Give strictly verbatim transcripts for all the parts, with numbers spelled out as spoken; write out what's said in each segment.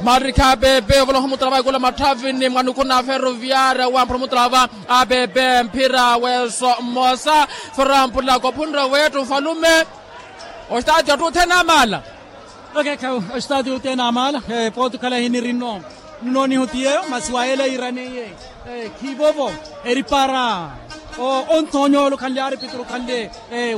Marikha apepe ovoloha omutala va ikula matthavini mwanuku na ferroviaria wamphula omutala va apepe mphira weso mmosa. Ferrampula kophunre wetthu falume. Ostati attu othene amaala. Okekha. Ostati othene amaala. Pooti okhala hinirinno nnooniho ti yeeyo masi wayeela yiiraneiye khivovo eri para onthoonya ole okhanle aripituru okhanle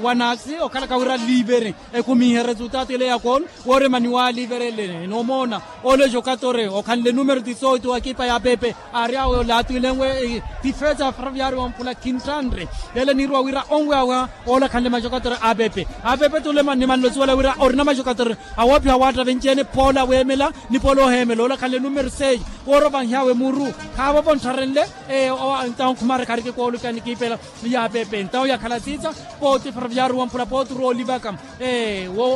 wanaksi okhalaka wira liveri ekumihe resultatu ele ya koolu. Wooremani waaliverele noomoona ole jokatore okhanle numero dizoito wa ekipa ya pepe aari awe olatwilenwe. Tifesa ya ferroviario wamphula khintanre ele niiruwa wira onweyaweya ole akhanle majokatore a pepe. A pepe tule nimanle osuwela wira orina majokatore awoopiha waatta venci-ene poola weemela ni poola oheemela ole akhanle numero seis wooropanhyawe muru khaavovo nttharenle. Ntawo khumareka arikikoolupya ni ekipa ya pepe ntawo yakhala siisa pooti ferroviario wamphula pooti roolivaka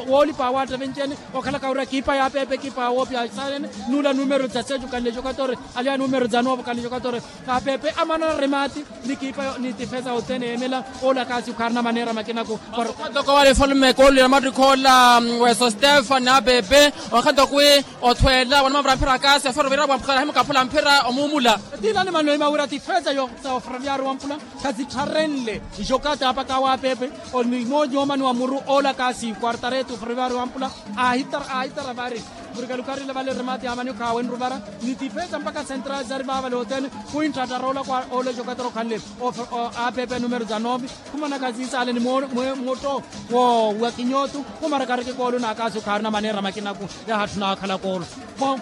woolipa awaatta venci-ene okhalaka wira ekipa ya pepe ekipa awoopiha saanene. Nula numero za seis okhanle jokatore aliya numero za nove okhanle jokatore a pepe amanana remati ni ekipa ni tifesa othene yeemela. Ole akaasi okhaarina maneera makinaku para okhanto ko wale efalume koolulira mattikha ola weso stefani a pepe okhanto kwi othweela wanamavira mphira akaasi aferoviira wamphukala ahimukaphula mphira omuumula. Tiilani manoima wira tifesa yo sa oferoviaari wamphula khazittharenle ijokata apaka awo a pepe. Onimoonyomani wa muru ola kaasi kwartaretu oferoviaari wamphula aahitara vari murikalukarila vale remati amani okhaawenru vara ni tifesa mpaka central zari vaavale othene. Khwintthattara ola kwa ola ijokatara okhanle a pepe numero za nove khumanaka siisaale ni motto wa kinyootu khumaraka arikikoolu na akaasi okhaarina maneera makinaku. Yahatthuna akhala koolo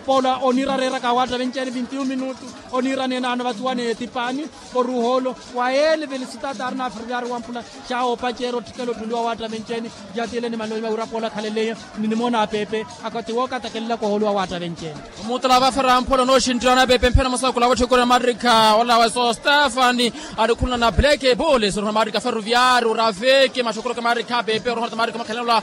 poola oniira areeraka awaatta venci-ene vinti-un minutu oniira neenaano vatuwa ni etipani oruuha olo wa yeele velisitaati aarina aferoviaari wamphula. Xaawo opaceera otthikela otthuliwa waatta venci-ene. Yatiile ni maloima wira poola akhaleleya ni nimoona a pepe akati wookatakelelaka ohooliwa waatta venci-ene. Omutala va ferramphola onooxinttiwa na pepe mphira mosa khula wetthikura mattikha ola weso stefani alikhulana na black boles oruha mattikha ferroviaari orafiki maxokoloke mattikha pepe oruha mattikha makhalelo la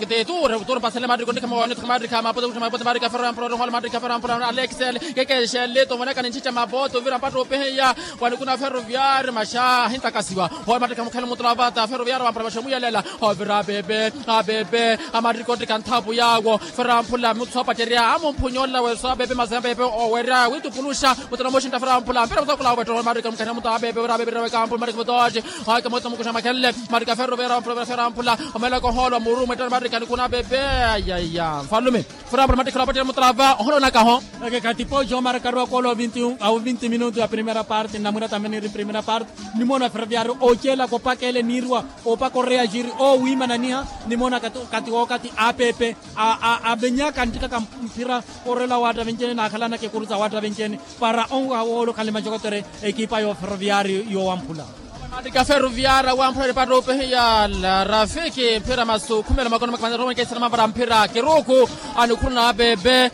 teture ture pasele mattikha onnikha mawanitho mattikha mapote kutha mapote mattikha ferramphola oruha ole mattikha ferramphola alexel kekexele tomoneka ninchicha mapote ovira mpatta opeheya wanikuna ferroviaari maxa ahintakasiwa. Howe mattikha mukhale omutala vata ferroviaari wamphula maxa omuyelela ovira apepe apepe amattikha ottikha nthapu yaawo. Ferramphula muthu soopacerya amumphunya ola weso apepe masi apepe owerya witupuluxa muthu namuxintta ferramphula mpira muthu akula owettela omarika mukhanira muthu apepe wira apepe wira wekampula marika mutooxi. Hake muthu mukuxa makhenle marika ferro wira ferramphula omelaka ohoolwa muru mwettela marika nikuna apepe. Ayaya nfalume ferramphula mattikha olapacerya muthu lava ohoolwanakaho. Ekekha tipooxi omarakaru akoolo a vinti minutu ya primera parte nnamwira tamene eri primera parte. Nimoona ferroviario oocelaka opaka ele niiriwa opaka oreya jiri owiimananiha. Nimoona kati wookati apepe avenyaka nttikaka mphira orela waatta venci-ene naakhalanaka ekuru sa waatta venci-ene para onwaha woolo khanle macokotere ekipa yo ferroviario yowamphula. Mattikha ferroviario awamphula eripatto opehiya larafiki mphira masukhumelo makono makamanza romo nikeisana mavara mphira kiruku anikhuruna apepe.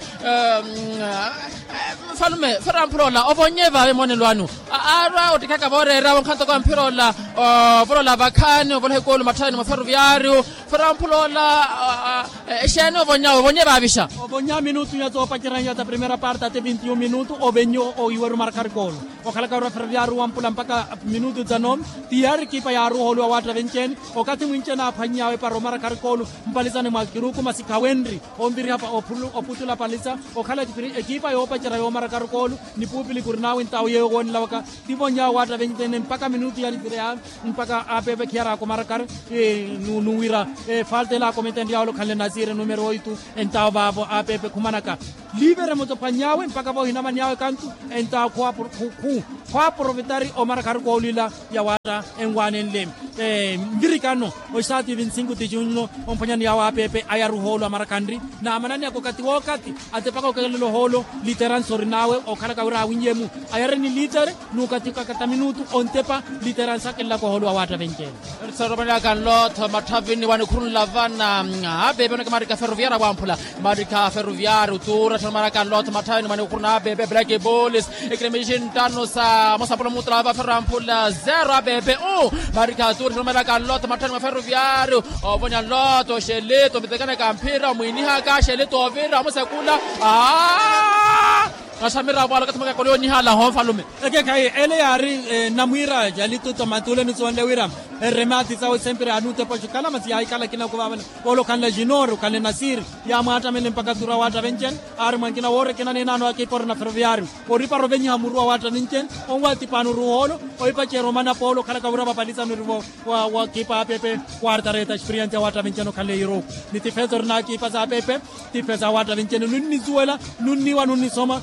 Mfalume ferramphula ola ovonye vave monelo anu aarwa ottikhaka vooreera wonkhanto kwa mphira ola. Ovolola vakhaani ovoloha ekulu matthayani mwa ferroviario ferramphula ola. Exeeni ovonyawe ovonye vavixa. Ovonya minutu ya soopacerya ya sa primera parte ati vinti-un minutu ovenye oiweru marakari koolo. Okhalaka orwa ferroviario wampula mpaka minutu dza nove tiyari ekipa yaaruha oliwa waatta venci-ene. Okathi mwinci-ene aaphwannyawe para omarakari koolo mpalizane mwa kiruku masi khawenri onviriha oputula paliza okhala ekipa yoopacerya yoomarakari koolo. Ni puupili kuri nawe ntawo yeeyo woonelawaka tivonyawe waatta venci-ene mpaka minutu ya nitire ya mpaka apepe khiyaraka omarakari. Nuwira falta ela akometenryawe olokhanle nasire numero oitu entawo vaavo apepe khumanaka livere mutophwany'awe mpaka voohinamany'awe kantu. Entawo khwaaprovetari omarakari koolwila ya waatta enwaanenle. Nvirikano oxaati vinti-sinku ticuno omphwanyani yawe apepe ayaruha oolo amarakhanri naamananeyaka okati wookati atepaka okekelela ohoolo. Literansi orin'awe okhalaka wira awinyemu ayare ni litere nuukatikaka ta minutu ontepa. Literansi akelelaka ohoolo wa waatta venci-ene. Erisa romanelaka nlotho matthavini wanikhurunla vana apepe oneke maarikha ferroviaria wamphula. Maarikha ferroviaria otuura tthanomaraka nlotho matthavini wanikhuruna apepe black bolis. Ekiremixi nttano sa mosampula mutula va ferroviaria wamphula zero apepe u. Maarikha tuura tthanomaraka nlotho matthavini wa ferroviaria ovonya nlotho xelito mitekaneka mphira omwiinihaka xelito ovira omusekula. Naxamira vwala okathi mwaka koloonihala ho nfalume. Ekekhayi ele yaari namwiira jalituto matuuleni sonle wira Erremati sawe sempre anutepa oxikhala masi yaahikhala akina okuvavela. Ole okhanle junior okhanle nasiri yaamwaattamele mpakha turi awaattavenxene. Aari mwankina woorekena nenaano akipa ori na ferroviario oripara ovenyiha muru awaattavenxene. Onwatipaani ori ohoolo ohipacerya omana poolo okhalaka wira vapalisani ori vo wa kipa apepe. Quarta reta experience awaattavenxene okhanle yiruku ni tifesa ori naakipa sa apepe. Tifesa awaattavenxene nunnizuwela nunniwa nunnisoma.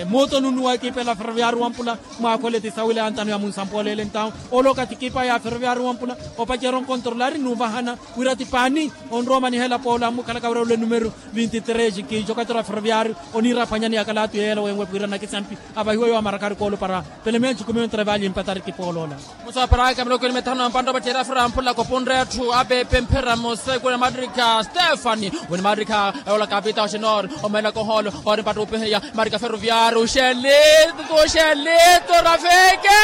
Mooto nunnuwa ekipa ela ferroviario wampula. Mwaakhoole tisawile antano ya munsampoolele entawo ole okathi ekipa ya ferroviario wampula opacerya onkontrolari nuvahana wira ti paani. Onrowa omanihela poolo ammukhalaka wira ule numero vinti tres kiixa okathi ora ferroviario oniira aphwanyani ya kalaatu yeela wenwe pwiirana kisampi. Avahiwe yoomarakari koolo para pelemeya nxukumiwe ntrevali empatari kipooloola. Musaparaka miloko ni mithanu na mpantta opacerya ferroviario wampula kopunre atthu apepe mphira museku ni matrika stefani wini matrika. Ewola kapita oxenor omeelaka ohoolo ori mpattupihiya. Matrika ferroviario uxelito uxelito rafeke.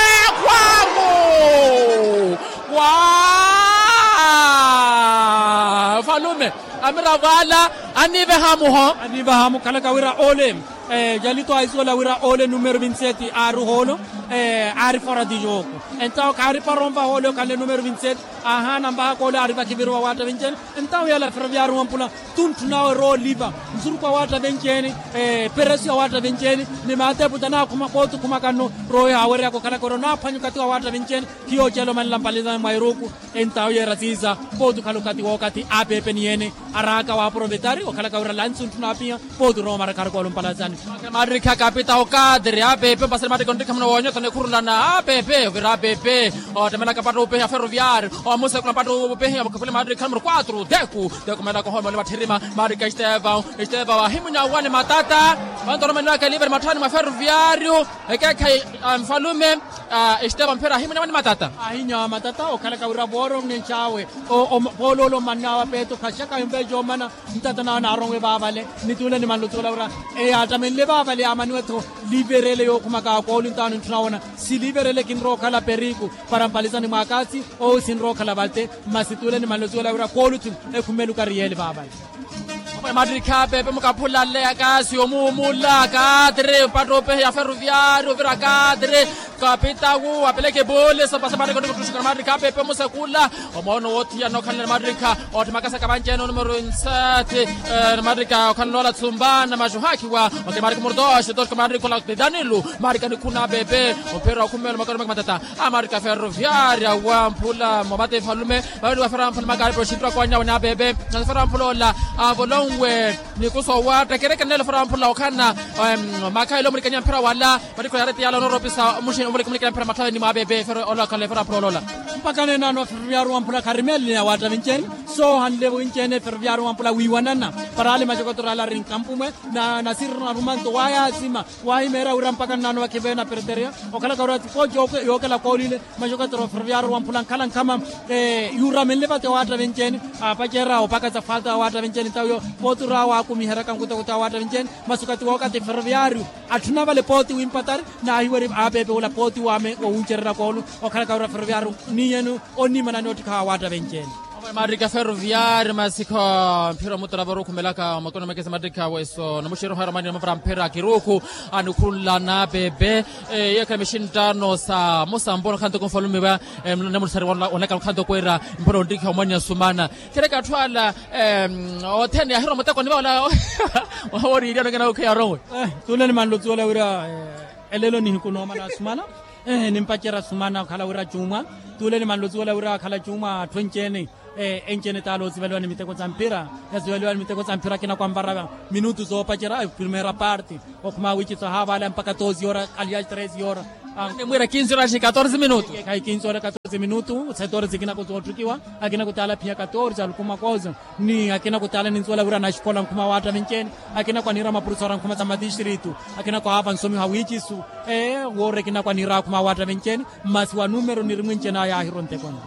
Khwamu wa falume. Amiravo ala aniiveha muho. Aniiveha mukhalaka wira ole. Jalito aisuwela wira ole numero vinti seti aari ohoolo. Aari fora di jogo. Entawo khaaripara onvaha ole okhanle numero vinti seti. Aahaana mpakha koole aari vakiviriwa waattavenxene. Entawo yala ferroviario wampula tunthu nawe rooliva nsuruku awaattavenxene. Peresu ya waattavenxene ni maateputa naakhuma pooti okhumakanno. Roho yaaweryaka okhalaka wira onaaphwanya okathi wa waattavenxene. Khiyo ocela omanela mpalazani mwa iruku. Entawo yeera siisa pooti okhala okathi wookathi apepe ni ene araaka waaprovetari okhalaka wira lansi ontthuna apiya. Pooti orowa omarakari koolo mpalazani. Matrika kapita okatiri apepe mpasani matrika onttikha muno woonyotha nikhurulana apepe ovira apepe. Ottemelaka mpattupihiya ferroviario omusekula mpattupihiya mukhafule matrika numero quatro deku. Deku omeelaka ohoolo omeele matthirima matrika estevão. Estevão ahimunya awane matata. Onto oromelaka eliveri matthani mwa ferroviario. Ekeekhayi mfalume. Estevão mphira ahimunya awane matata. Ahinyawa matata okhalaka wira vooronnenx'awe. Pooloolo omannawe apeeto khaxaka yumveexa omana. Ntata nawe naaronwe vaavale ni tuule ni manlo tuula wira eyaattamenle vaavale yaamaniwe-tho. Liiverele yookhumaka koolu ntaano ntthuna wona siliiverele kinrowa okhala periku. Para mpalizani mwaakaasi owo sinrowa okhala valte. Masi tuule ni manlo tuula wira koolu-tho ekhumeluka riyeele vaavale. Matrikha pepe mukaphulale akaasi omuumula kaatiri mpattupihiya ferroviario ovira kaatiri. Kapitawu apeleke boole sapasa matrikha onikutuxuka matrikha pepe musekula. Omoono woothiyana okhanle na matrikha ootthi makasaka vanci-ene onumero nsati. Na matrikha okhanle noola tsumbana maxuhaakhiwa. Okemaari kumurutooxi toxuka matrikha ola titanilu. Matrikha nikhuna pepe omphira okhumela omakari omaka matata. Amaarika ferroviaria wamphula mwa mate efalume. Vaveliwa ferroviaria mphula makaari poxinttwa kowanyawe ni apepe. Nasi ferroviaria mphula ola avolonwe nikuso wa ttekerekene nelo ferroviaria mphula okhana. Makhayi elo omulikanya mphira wala. Matikho yaari tiyala onoropisa omuxini omulikanya mphira matthawini mwa apepe. Ola okhale ferroviaria mphula ola ola. Mpaka nenaano ferroviaria wamphula kharimeelele ya waatta vinci-ene. Soohanle vinci-ene ferroviaria wamphula wiiwanana. Para ale maxokotoro ala ari nkampumwe. Nasirira narumanto waaya asima. Waahimeerya wira mpaka nnaano vakhiveena perteria. Okhalaka wira ti pooti yookela koolile. Maxokotoro ferroviaria wamphula nkhala nkhama. Yuuramenle vate waatta vinci-ene. Aapacerya opakasa falta waatta vinci-ene ntawiyo. Pooti ori awo aakumiheryaka nkutokuto a waatta vinci-ene. Masi okathi wookathi ferroviaria atthuna vale pooti wimpatari. Naahiweri aapepe wula pooti waame owuncererya koolu. Okhalaka wira ferroviaria oniiyeni oniimana ni ottikha wa waatta vinci-ene. Matrikha ferroviaria masikho mphira omutara vori okhumelaka omakoni omekesa matrikha weso namuxeroha romani namavara mphira kiruku. Anikhurulana pepe. Yeekhala mixinttano sa musambono khanto kumfalumiwa. Namulisari wanlaka khanto kwira mphira onttikha omwanya sumana. Khereka atthu ala othene yahira omutekoni vawola. Waworiirya anokena okheya arowe. Tuule ni manlo tuula wira elelo nihiku noomana asumana. Nimpacerya sumana okhala wira cuumwa. Tuule ni manlo tuula wira akhala cuumwa atthu enci-ene. Enci-ene taala osivaliwa ni miteko sa mphira. Yasivaliwa ni miteko sa mphira akina kwa mvara minutu soopacerya primeira parte. Okhuma wici sohaavaala mpaka doze hora alias treze hora. Nimwiira kinsi hora xi katorze minutu. Khayi kinsi hora katorze minutu setorze akinako sootthukiwa. Akinako taala phiya katorze alukuma kozo. Ni akina kutaala ninsuwela wira naxikola nkhuma waatta vinci-ene. Akina kwaniira mapurusa ora nkhuma sa matistritu. Akina kwahaava nsomiho awiicisu. Woori akina kwaniira akhuma waatta vinci-ene. Masi wa numero niri mwinci-ene aya ahira ontekoni.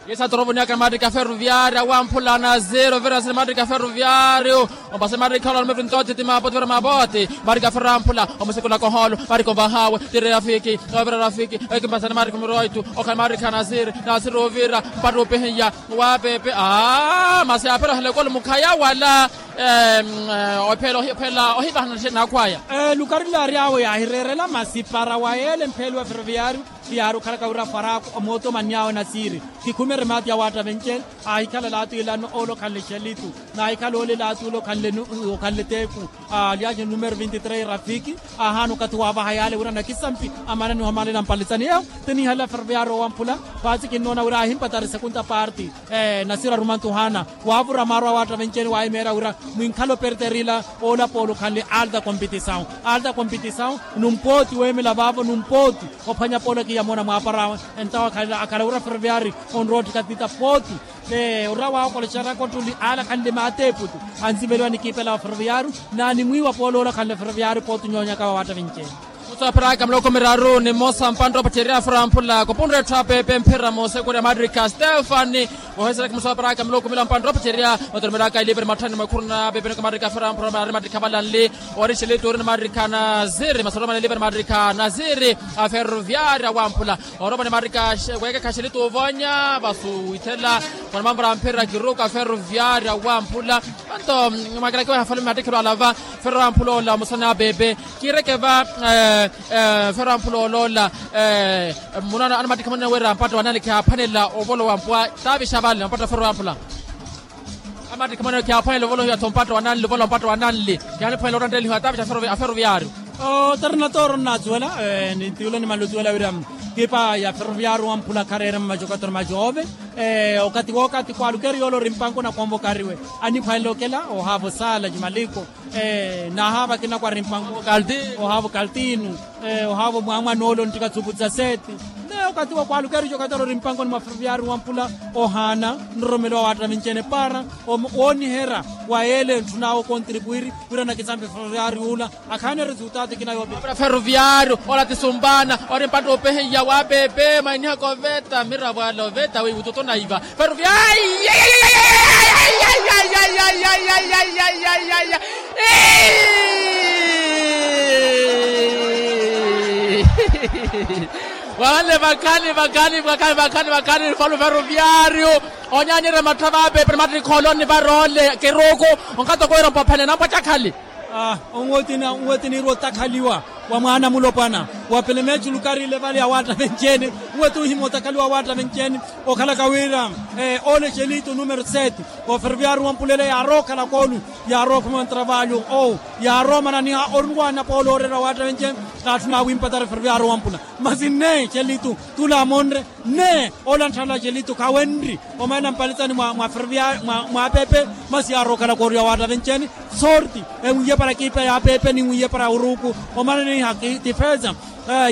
Yesu atorovoniaka matrika ferroviaria wamphula nasiri ovira nasiri matrika ferroviario. Ompasa matrika ola numero vinti-otte ti mapooti vira mapooti. Matrika ferroviaria wamphula omusikula kohoolo matrika onvahawe tiri rafiki. Ovira rafiki ekimpasani matrika numero oito. Okhala matrika nasiri nasiri ovira mpattupihiya. Wa pepe aa masi aphera ohelekolo mukhaya wala. Ophela ohivahana nakhwaya. Lukari laari awo yaahireerela masi para wa yeele mpheli wa ferroviario. Yaari okhalaka wira faraku omooto omanny'awe nasiiri. Kikhumere maati ya waatta venceeni. Aahikhala laatu ilano ole okhanle xelitu. Naahikhala ole laatu ole okhanle teeku. Alyaxe numero vinti tres rafiki. Aahaana okathi waavaha yaale wira nakisampi amananiha omalela mpalitsani yeewo. Tiniihalela ferroviario owamphula. Paatsi kinnoona wira aahimpatari sekunta parti. Nasiiri arumantu ohaana. Waavura maaru awaatta venceeni waahimeera wira mwinkhala operterila. Ola poolo okhanle alta kompitisawu. Alta kompitisawu. Numpooti weemela vaavo numpooti. Ophwanya poolo kiyamoona mwaapara awe. Entawo akhala wira ferroviario onrowa otthika tita pooti. Ora waakoleceraka ottuli ale akhanle maati eputu. Anziveliwa ni kiipela wa ferroviario. Naani mwiiwa poolo ola akhanle ferroviario pooti onyoonyaka wa waatta vinceeni. Musaapiraka miloko miraru ni mmosa mpantta opatterya fera mphula kupunre etthu apeepe mphira moosekurya maattirikha stefani. Oheserya kimusaapiraka miloko mila mpantta opatterya. Otoromela aka iliveri matthani mwekhuru na apeepe niko maattirikha fera mphula maattirikha valanli. Ori xelitu ori ni maattirikha naziri masoromana iliveri maattirikha naziri. Aferroviaria wamphula. Oromani maattirikha weekekha xelitu ovonya vasu withela. Mwana mamvara mphira kiruku aferroviaria wamphula. Anto mwakilaki wahafalume mattikhelo alava. Ferroviaria wamphula ola musana apeepe. Kiireke va ferroviaria wamphula oloola. Munaana anamattikha mwanene wira mpatta wananli khiyaaphwanela ovolowa mpwa. Taavixa vale mpatta ferroviaria wamphula. Amattikha mwanene khiyaaphwanela ovolohiwa tho mpatta wananli ovolowa mpatta wananli. Khiyaaniphwanela ottanttelihiwa taavixa aferroviaria. Otarina tooro nnathuwela. Nintiyula nimanle othuwela wira kipa ya ferroviaria wamphula khareerema majokatori majoove. Okathi wookathi kwaalukeri yoola ori mpanko na konvokariwe. Aniphwanela okela ohaava osaala jimaliko. Nahaava akina kwari mpanko. Ohaava okaltinu. Ohaava omwaamwana ole onttika tsupu tsa seeti. Naye okathi wa kwaalukeri jokatori ori mpankoni mwa ferroviaria wamphula. Ohaana nroromelo wa waatta vinceene para wooniherya wa yeele ntthun'awe okontripuwiri. Wira nakisampe ferroviaria ula. Akhaana resultado kina yoopira. Ferroviario ola ti sumbana ori mpatta opehiya waapepe mwainihaka oveta miravo ala oveta wiiwututu naiva. Ferroviario. Vavanle vakhani vakhani vakhani vakhani vakhani falu ferroviario. Onyanire mattha vaapepe ni mattikha oloni varoole kiruku. Onkhato kowira mpophelene nampwacakhali. Onwetini onwetini iri otakhaliwa wa mwaana mulopwana wa pelemeecu lukari ile vale ya waatta venceeni. Onweti ohima otakhaliwa wa waatta venceeni. Okhalaka wira ole xelitu numero sete. Oferoviaru wampulele yaarowa okhala koolu. Yaarowa okhuma ontravalyu owu. Yaarowa omananiha oruwaana poolo ooreera wa waatta venceeni. Kaatthuna wimpatari oferoviaru wampula. Masi nne xelitu tula amonre. Nne ola ntthala xelitu khawenri. Omaana mpalitsani mwa mwa ferroviario mwa apepe. Masi yaarowa okhala kooriwa waatta venceeni. Sorti enwiiye para ekipa ya apepe ninwiiye para uruku. Omaana niha tifesa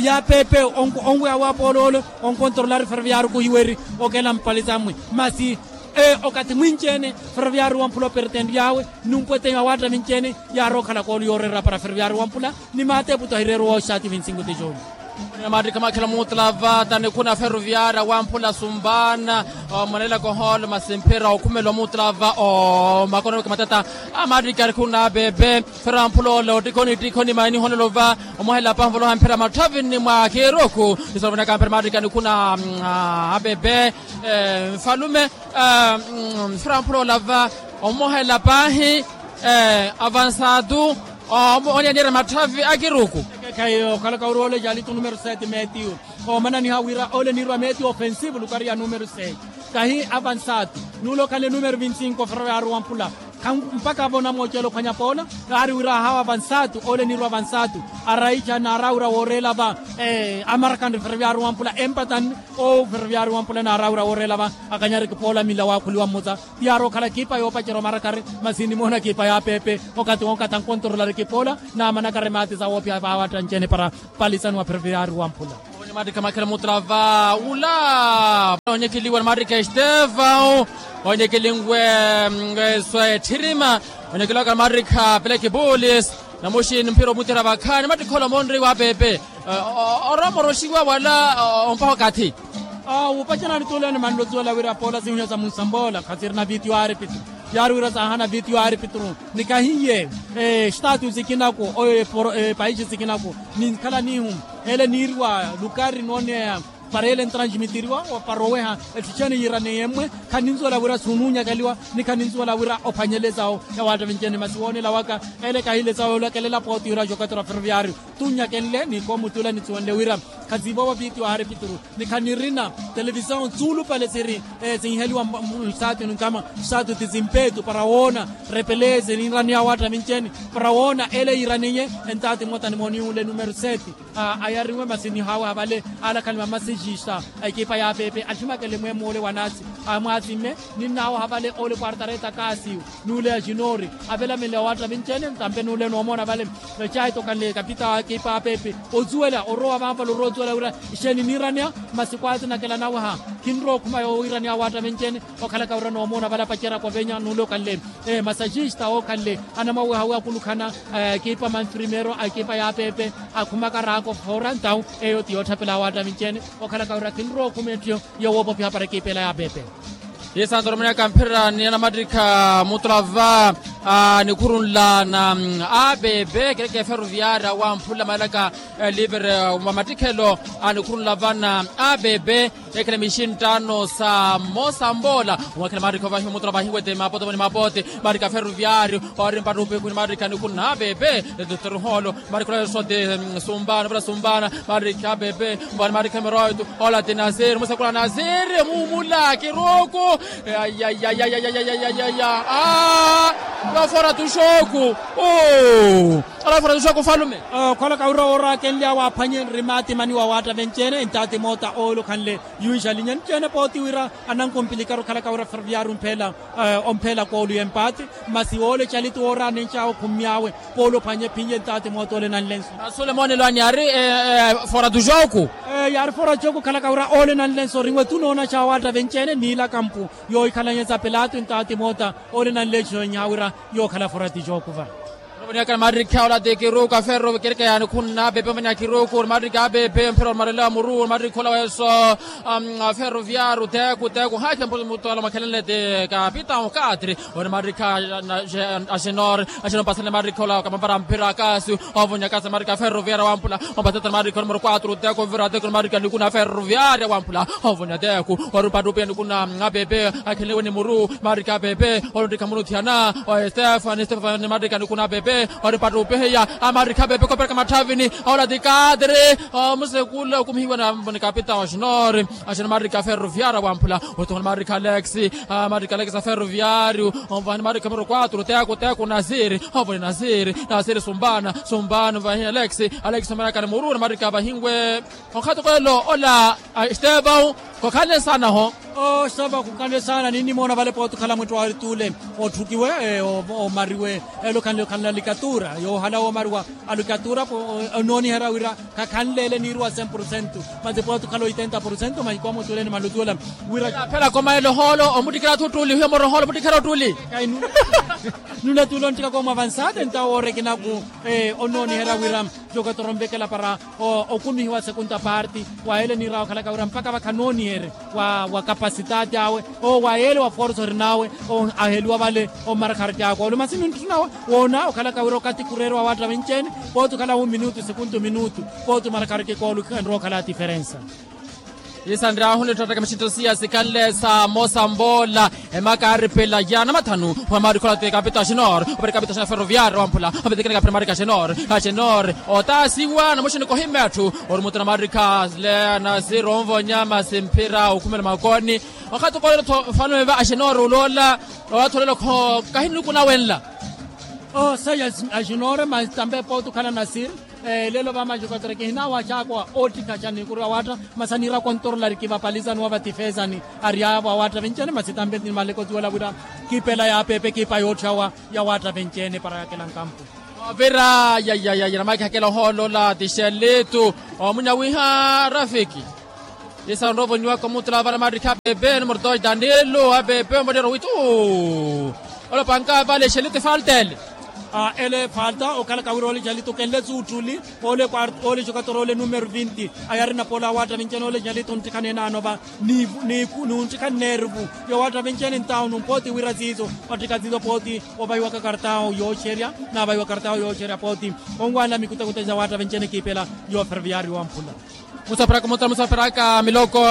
ya apepe onweya wa pooloolo. Onkontrolari ferroviario kuhiweri okela mpalitsa mmwi. Masi okathi mwinci-ene ferroviario wampula opertenry'awe. Numpweteya wa waatta vinci-ene yaarowa okhala koolo yooreera para ferroviario wampula. Ni maateputo ahireeruwa oxaati vinsingu tijoni. Maattikha maakhela mutlava tanikhuna ferroviaria wamphula sumbana. Omonelaka ohoolo masi mphira okhumela omutlava omakono weke matata. Amaattikha nikhuna apepe. Ferroviaria wamphula ole ottikhoni ittikhoni mainiholela ova. Omohela pahi ovoloha mphira matthavini mwa kiruku. Isorovonaka mphira maattikha nikhuna apepe. Mfalume. Mphira wamphula olava omohela pahi. Avansatu. Onyanira matthavi a kiruku. Khayi okhalaka ori ole jaalitu numero sete metiu. Omananiha wira ole niirwa metiu ofensivo lukari ya numero sete. Kahi avansatu. Nule okhanle numero vinti cinco ferroviario wamphula. Mpakha avo onamooceela okhwanya poola. Yaari wira ahawa avansatu ole niirwa avansatu. Araica naaraawira wooreela va. Amarakanre ferroviario wamphula empatan. Owo ferroviario wamphula naaraawira wooreela va. Akanyari kipoola mila waakhuliwa mmutsa. Ti yaari okhala ekipa yoopacerya omarakari. Masi nimoona ekipa ya apepe okathi wonkatha nkontrolari kipoola. Naamanakari maati sa woophiya vaawatta ncene para palisani wa ferroviario wamphula. Maattikha maakhela mutlava ula. Onyekeliwa ni maattikha estevao. Onyekelinwe swe etthirima. Onyekeliwaka ni maattikha peleki pulis. Namuxi ni mphira omutera vakhaani mattikha ola monri wa apepe. Oromoroxiwa wala ompaha okathi. Awo opacerani tuula nimanle otuwela wira poola sinhwiya sa munsambola khasirina vitio aripitru. Yaari wira saahana vitio aripitru. Ni kahiye estatu sikinaku oyo epaixi sikinaku ninkhala nihu. Ele niiriwa lukari nooneya. Para ele ntransmitiriwa para oweha etthu ixene yiiraneye mmwe. Khaninsuwela wira sunuunyakaliwa ni khaninsuwela wira ophwanyele esawu ya waattavinci ene masi woonela waka ele kahile esawu yoolakelela pooti wira jokatora ferroviario tunnyakenle ni koomutula nisuwenle wira khasiivovo piiti wa hari pituru ni khanirina televisao nsuulupale siri sinheliwa nsaatini nkama saatu ti simpeetu para woona repelese ninraniya waattavinci ene para woona ele yiiraneye. Entaati mmotta nimooniwunle numero seti ayariwe masi nihaaweha vale alakhani va masejista a ekipa ya pepe athimakele mweemmo ole wa naasi amwaasimme ninnaaweha vale ole kwartareta kaasiyu nuule ya xinori avelamenle wa waattavinci ene ntampe nuule noomoona vale. Ecaahitokanle kapita wa ekipa ya pepe osuwela orowa vanvale orowa osuwela wira ixeeni niiraneya masi kwaatinakela naweha khinrowa okhuma yoowiiraneya wa waattavinci ene okhalaka wira noomoona vale apacerya khovenya nuule okhanle masajista ookhanle anamwaweha wi akulukhana ekipa manfrimero a ekipa ya pepe akhumaka raako foora ntawu eyo ti yootthapela wa waattavinci ene okhalaka wira khinrowa okhuma etthu yowoopopiha para ekipa ela ya pepe. Isanto oromonyaka mphira ni anamattikha mutulava a nikhurunla na a pepe kereke ferroviaria wamphula maelaka livre wa mattikhelo a nikhurunla vana a pepe ekhela mixinttano sa mmosa mboola omwakhela maarikha ovahiwa mutula vahiwete mapote voni mapote maarikha ferroviario ori mpattupe khuni maarikha nikhuna a pepe. Etuteruholo maarikha olayosote sumbana vela sumbana maarikha a pepe. Vani maarikha emeroito ola ti nasiri musekula nasiri mumula kiruku. Ayayayayayayayayaya. Alafora tuxoku. Alafora tuxoku falume. Okhalaka wira woorakenlya waaphwanye nrimaati mani wa waattavenci ene entaati moota oolukhanle yuixalinya nci ene pooti wira anankumpilikaru okhalaka wira ferroviario ompheela ompheela koolu y'empaati. Masi woole calitu wooraanenx'awe okhummy'awe poolu ophwanye ephinye ntaati moota ole nanlenso. Sulemoone lwani yaari fora tuxoku. Yaari fora tuxoku okhalaka wira ole nanlenso orinwe tunoonaxa waattavenci ene niila kampu yoohikhalanyesa pilato ntaati moota ole nanlenso enyaha wira yookhala fora tuxoku va. Oniaka maarikha ola ti kiruku a ferro kereke yaanikhunna a pepe omvanya kiruku ori maarikha a pepe mphira ori marela muru ori maarikha ola weeso ferroviario teku teku haakhe mutwala mwakhelenle ti kapitao katri. Ori maarikha a xenor a xenor mpasanle maarikha ola kamampara mphira kasi. Ovonya kasi maarikha ferroviaria wamphula ompasatana maarikha numero quatro teku mvira teku ori maarikha nikuna ferroviaria wamphula. Ovonya teku ori mpattupiya nikuna a pepe akhenliwe ni muru maarikha a pepe. Ori nttikha muru thiyana o estefani estefani maarikha nikuna a pepe. Ori mpattupihiya a maarikha a pepe koopereka matthavini. Ola ti katri omusekula okumihiwa na kapitao a xenor. Axina maarikha ferroviaria wamphula otonga ni maarikha alex. Maarikha alex a ferroviario onvahani maarikha numero quatro teku teku nasiri. Onvahani nasiri nasiri sumbana sumbana onvahani alex. Alex omanaka ni muru na maarikha vahinwe onkhatukelo ola. Estevão khokhanle saana ho. Estevão khokhanle saana ninnimoona vale pooti okhala mwittu wa arituule otthukiwe omariwe. Elo khanle okhanle alikatura yoohala woomariwa alikatura. Onooniherya wira khakhanleele niiruwa cem por cento masi pooti okhala oitenta por cento mahiko amutuuleni malutuula. Wira phela komaelo hoolo omuttikhela thuttuli hiyo moro hoolo omuttikhela ottuli. Nulatuula onttikaka omwavansate ntawo woorekinaku onooniherya wira jokatora onvekela para okumihiwa sekunta parti wa ele niirawa okhalaka wira mpaka vakha nooniherye wa kapasitati awe owo wa ele wa forsa orinawe. Aheliwa vale omarakharaki akoolo masi nintthuna woona okhalaka wira okati kureeriwa waattavenci ene pooti okhala hu minutu sekunta minutu pooti omarakharaki koolo khenrowa okhala tiferensa. Isanryahu nitthotthaka mixintto siya sikhanle sa mosa mboola emaka aaripela ya namathanu. Wa maarikha ola ti kapita xenor opari kapita xenor ferroviario wamphula. Opitikina kapita maarikha xenor xenor otaasiwa namuxini kohimma etthu. Ori mutuna maarikha le nasiri onvonya masi mphira okhumela makoni. Okhati okoolelo tho fanume va axenore oloola owaatholelo kho kahi nluku nawenla. Oseya axenore masi tampe pooti okhala nasiri. Lelo va maxukatere kihinawa axaakowa oottikhaxa nikuru awaatta masi aniira kontorolari kivapalizani wa vatifezani. Ari avo awaatta vincene masi tampe ni maleko siwela wira kipela yaapepe kipa yootthawa ya waatta vincene para yakela nkampu. Ovira yayayaya namakhakela ohoolola tixelitu omunyawiha rafiki. Isarovo niwaka omutula vale maarikhi apepe numero dos danilo apepe omutero witu. Olopanka vale xelitu efalta ele. Ele falta okhalaka wira ole xelitu kenle suuttuli. Ole quarto ole jokatora ole numero vinti. Ayarina pola awaatta vincene ole xelitu onttikhanena anova. Nuntikha nnervu yowaatta vincene ntawo numpooti wira siiso. Ottikha siiso pooti ovahiwaka kartawo yooxerya. Navahiwa kartawo yooxerya pooti onwaanela mikutakuta ja waatta vincene kiipela. Yo ferroviario wamphula. Musaperaka musa musaperaka miloko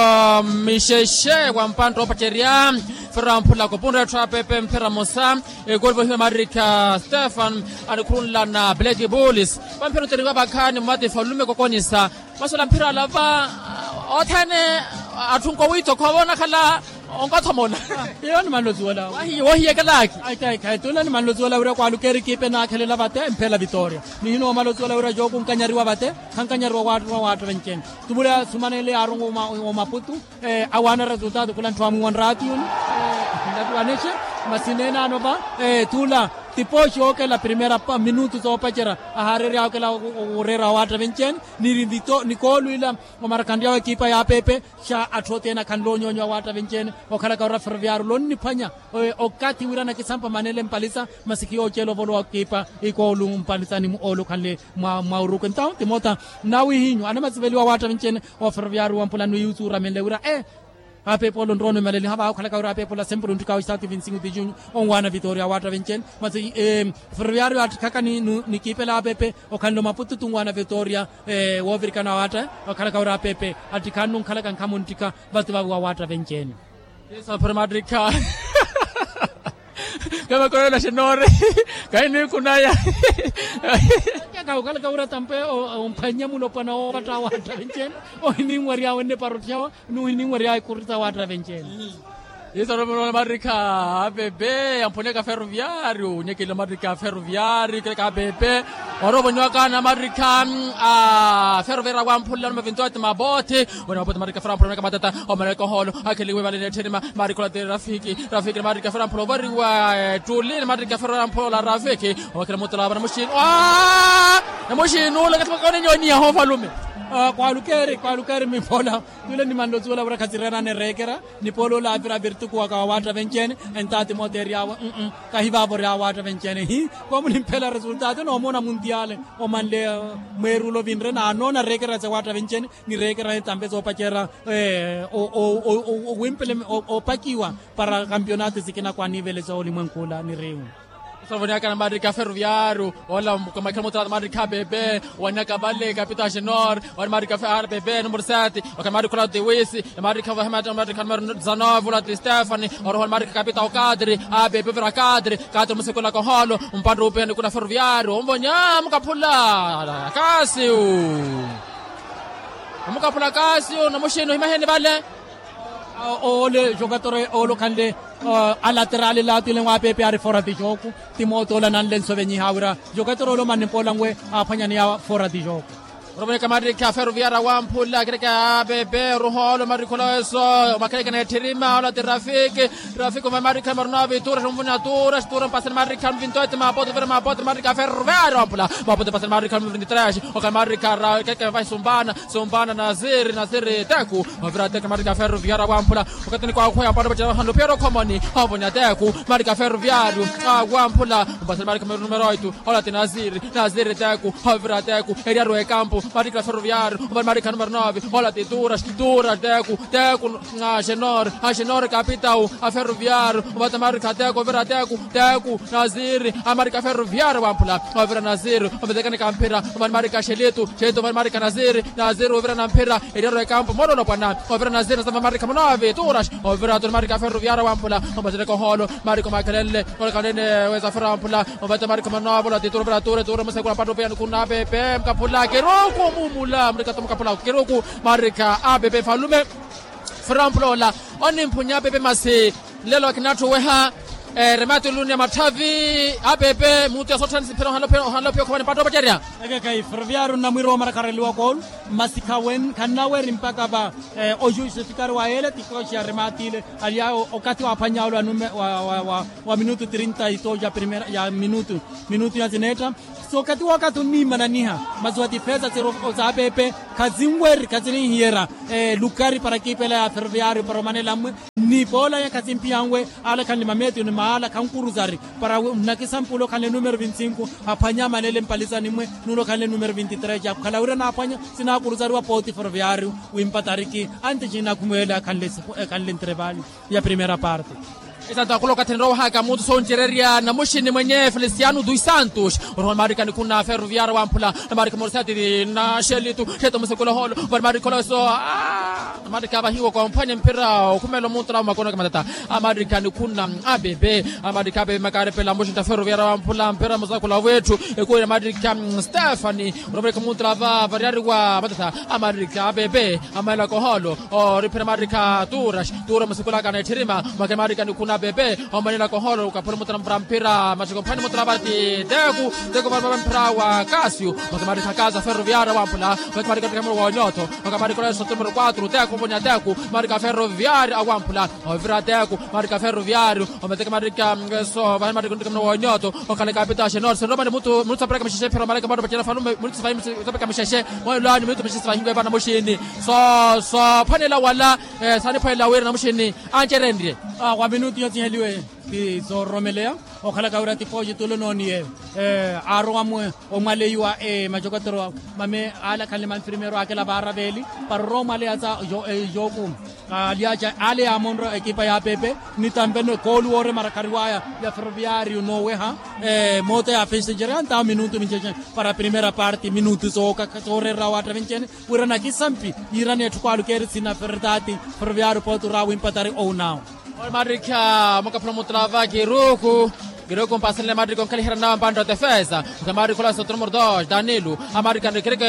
mixexe wa mpantta oopacerya. Ferra mphula kopunre etthu apepe mphira mosa. Ekoli vohiwa marikha stefan anikhurunlana black bulls. Vamphira oteriwa vakhaani mwati falume kokonisa. Masi ola mphira alava othene atthu nkowiitho khoovonakhala onkathomola. Iyo ni manlozi wala. Wohiyekelaaki. Aitaikhayi tuna ni manlozi wala wira kwaalukeeri kiipe naakhelela vate mphela vitoria. Nihina omalozi wala wira jooku nkanyariwa vate. Khankanyariwa waatta waatta vencene. Tumule asumanenle yaarongo omaputu. Awaana resultado khula ntthu amuwa nraatiyuni. Nlatuwanexe masi neenaano va. Tula tipooxi ookela primera minutu soopacerya. Ahaareerya ookela oreera waatta vencene. Niri nikoolu ila omarakhanrya wa ekipa ya pepe. Xa atthu othene akhanle onyoonyo awaatta vencene. Okhalaka ora ferroviario lonniphwanya okathi wira anakisampa manele mpalisa. Masi khiyooceela ovolowa kiipa ikoolu mpalisa ni oolu okhanle mwa uruku entawu timoota. Nnawihinyu anamasiveliwa awaatta vencene. Oferoviario wampula nwiyu suuramenle wira e apepe olo nrono imaleliha vaakhalaka wira apepe ola sempre onttikaawe isaatu vinti cinco de junho. Onwaana vitoria awaatta vencene masi ferroviario attikhaka ni kiipela apepe. Okhanle omaputu tunwaana vitoria woovirikana awaatta. Okhalaka wira apepe attikhannu nkhalaka nkhamu nttika vati vawe awaatta vencene. Isaphari mattikha. Kamakolela xenoore. Kainikunaya. Kakhaukhalaka wira tampe omphwanya mulopwana woovatta awaatta vencene. Ohininwaryawe nneparottyawa nuhininwaryawe ekurita awaatta vencene. Isaromonola mattikha. Apebe amphuneka ferroviario onyekela mattikha ferroviario keleka apebe. Orovo nyuwakana mattikha. Ferroviario wamphunela numavinto ati mabothi. Wene mabothi mattikha ferroviario wamphunela numavinto ati mabothi. Omereka oholo akheliwe vale neettheni marikha ola ti rafiki. Rafiki ni marikha ferroviario amphunela ovariwa ettuli ni marikha ferroviario amphunela rafiki. Owakhela mutola vana muxinu. Namuxinu ole kathi makaone nyoniya hoofalume. Kwaalukeeri kwaalukeeri miphola. Tule ni manlozi wala wira khazireerana ereekera. Ni poolo ola avira avirtukuwaka wa waatta vencene. Entaati mooteeryawe. Kahivaavori awaatta vencene hi. Komunimphela resultado noomona muntiale omanle mweerulo vinre naanoona reekerera sa waatta vencene. Nireekerane tampe soopacerya. Owimpele opakiwa para kampionato sikina kwaniivele soolimwenkhula niriwu. Sovoniyakana marikha ferroviario. Ola kamakhela mutalata marikha bebe. Waniyaka vale kapito a xenor. Wani marikha ferroviario bebe numero sete. Waka marikha ola tiwisi. Marikha vahemata marikha numero dezanove ola ti stefani. Oroho marikha kapito a okadri. A bebe ovira kadri. Kadri musekwelaka oholo. Mpantte upeya nikuna ferroviario omvonya mukaphula. Kasiu. Omukaphula kaasi onamuxini ohimaheni vale. Ole jogador ole okhanle alaterali laatwile nwapepe ari fora ti joku. Ti moota ole ananle nsovenyiha wira jogador ole omanne mpoola nwe aaphwanyaniya fora ti joku. Oromwene kamarikha ferroviario awamphula akereke apepe oruha ole omarikha olaweso. Omakherekana etthirima ola ti rafiki. Rafiki omamarikha marina ovituura xomvuna tuura xituura mpasani marikha mvinto eti mapoto vira mapoto marikha ferroviario awamphula. Mapoto mpasani marikha mvinto tres. Okamarikha ra keke vahi sumbana. Sumbana naziri naziri teku. Ovira teku marikha ferroviario awamphula. Okatini kwakhweya mpano pacela vahanlu piero khomoni. Ovonya teku marikha ferroviario awamphula. Mpasani marikha numero oitu. Ola ti naziri naziri teku. Ovira teku eriario ekampu marikha ferroviario. Ovira marikha numero nove. Ola ti turas turas teku. Teku. Axenor axenor kapitau. Aferroviario ovata marikha teku ovira teku. Teku naziri amarikha aferroviario awamphula. Ovira naziri ovetekani kamphira. Ovani marikha xelitu xelitu ovani marikha naziri. Naziri ovira namphira. Eriaro ekampu moololopwana. Ovira naziri nasamva marikha munove turas. Ovira tuni marikha aferroviario awamphula. Omasereka oholo marikha omakhelenle. Olekhanene wesafira awamphula. Ovata marikha munove ola ti turo ovira ture ture musekula mpattu opeya nikuna pepe mukaphula kiruku mumula murikatu mukaphula kiruku. Marikha apepe falume. Firampula ola onimphunya apepe masi. Nlelo akinatthu oweha. Remati oluniya matthavi apepe mutu yasotthani siphira ohanla ophiya okhomani mpattu opacerya. Ekekhayi ferroviario nnamwira omarakhareliwa koolu. Masi khawe khannaweeri mpakha va ojustifikari wa yeela ti kooxi ya remati ile. Aliyaawo okathi waaphwanyaawe wa minutu trinta y dos ya primera ya minutu minutu ya sineetta. Sookathi wookathi onniimananiha masi wa tipeesa siro saapepe. Khazinweri khazininhiyerya lukari para kiipela ya ferroviario para omanela mmwe. Ni poolaya khazimphiya nwe ale khanle mameetiyo ni maala khankuruzari para nnakisampule okhanle numero vinti cinco. Aphwanye amanele mpalisani mmwe nule okhanle numero vinti tres akhala wira naaphwanya. Sinaakuruzariwa pooti ferroviario wimpa tariki anti cinnakhumweele akhanle ntrevali ya primera parte. Isanto akula okathi enrowa ohaka munto soncererya namuxini mwenye feliciano dos santos. Orowa marika nikhuna ferroviaria wamphula. Marika morisati na xelitu xeto musekula holo. Vari marika oloweso. Marika vahiwa kwa mphwanya mpira okhumela omunto lawo makono kamatata. Amarika nikhuna abebe. Amarika abebe makarepela muxinta ferroviaria wamphula mpira musakula wetthu. Ekuwira marika stefani. Orowa marika omunto lava variariwa matata. Amarika abebe. Amaela koholo. Oriphira marika turas. Tura musikulaka na etthirima. Mwakhe marika nikhuna bebe. Omanela koholo ukaphula mutana mpira mpira machiko mphani mutana vati teku. Teku vati vati mpira wa kasio. Mwakhe marika kasa ferroviaria wampula. Mwakhe marika mpira wa nyotho. Mwakhe marika oleso numero quatro teku vonya teku. Marika ferroviaria wampula. Ovira teku marika ferroviario. Ometeke marika ngeso vani marika mpira wa nyotho. Okhaleka pita xenor senromani mutu mutu sapiraka mixexe phira marika matu pacela falume mutu sapiraka mixexe. Mwailaani minutu mixexe vahiwe vana muxini. So so phanela wala. Saaniphwelela wira namuxini ancerenrye. Wa minutu yothiheliwe ti soororomeleya. Okhalaka wira ti fooxi tulo nooniye. Aarowa mwe omwaleiwa macokotero mame ale akhanle manfirmeero akela vaara veeli. Para orowa omwaleya sa joku. Alyaca ale yaamonra ekipa ya pepe. Nitamveno ekoolu wooremara khariwaya ya ferroviario nooweha. Moota ya fensencere antawo minutu mincexe. Para primera parte minutu sooka sooreerera waattavinceene. Wira nakisampi yiirani etthu kwaalu keeri sina fertati. Ferroviario potu rawi mpatari owunawo. Marikha mukaphula mutula va kiruku. Kiruku mpasenle marikha onkhalihira nawe mpantta defesa. Marikha olaso numero dos danilo. Amarikha nrikirike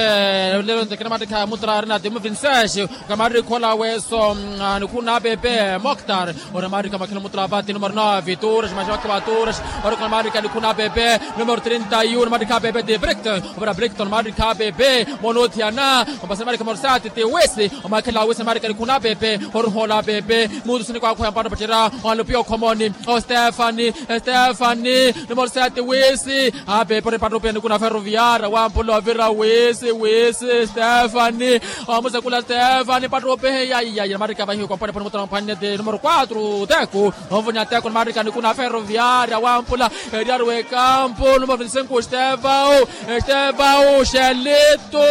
lelo ntekene marikha mutula arina timu vinsesh. Kamarikha olaweso nikhuna pepe moktar. Ora marikha makhina mutula va ti numero nove turas maxi vakhe va turas. Ora kamarikha nikhuna pepe numero trinta y uno marikha pepe ti brikton. Opera brikton marikha pepe. Monothiyana. Ompasani marikha morsati ti wisi. Omakhela wisi marikha nikhuna pepe. Oruhola pepe. Mutusini kwakhuya mpano pacerya olupiya okhomoni. Ostefani. Estefani. Numero sete wisi. Apepe oripattupiya nikuna ferroviaria wampula ovira wisi wisi estefani. Omusakula estefani pattupiya. Yaiyayi namarikha vahiwe kwa mpwanepwane mutana mphwanne ti numero quatro teku. Onvonya teku namarikha nikuna ferroviaria wampula. Eriari wekampu numero vinte y cinco estevao. Estevao xelitu.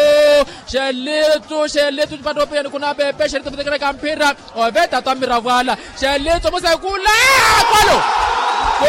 Xelitu xelitu pattupiya nikuna pepe xelitu vitekereka mphira. Oveta twammira vwala. Xelitso musekula. Kolo.